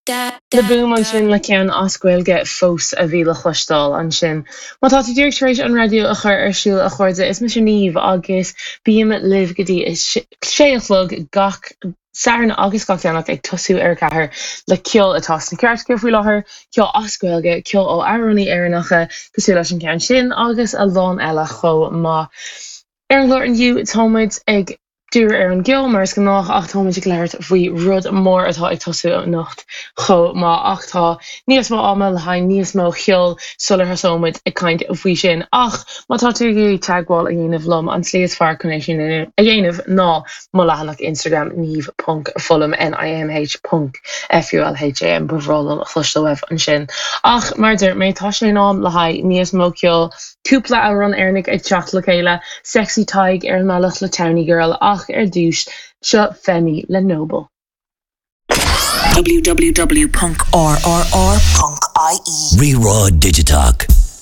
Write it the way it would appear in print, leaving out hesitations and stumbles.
The Boom ansin le ceann as Gaeilge fós a bhí le cloisteáil ansin. Má tá tú díreach tar éis an raidió a chur ar siúl a chairde, is mise Niamh agus bím libh go dtí a sé a chlog gach Satharn agus gach Domhnach ag tosú ar a ceathair le ceol atá sna cairteacha faoi láthair, ceol as Gaeilge, ceol ó amhránaí Éireannacha cosúil leis an gceann sin agus a lán eile chomh maith. Ar an gclár inniu tá muid ag díriú ar an gceol mar is gnách ach tá muid ag labhairt faoi rud mór atá ag tosú anocht chomh maith ach tá níos mó ama le haghaidh níos mó cheoil sular thosóidh muid ag caint faoi sin. Ach má tá tú ag iarraidh teagmháil a dhéanamh liom an tslí is fearr chun é sin a dhéanamh ná mo leathanach Instagram niamh ponc fulham, N-I-A-M-H ponc F-U-L-H-A-M, ba bhreá liom a chloisteáil uaibh ansin. Ach, mar a dúirt mé, tá sé in am le haghaidh níos mó ceoil, cúpla amhrán Éireannach ag teacht le chéile, Sexy Tadhg ar an mbealach le Townie Girl, ach ar dtús, seo Femi le Noble. www.rrr.ie. Rí-rá Digiteach.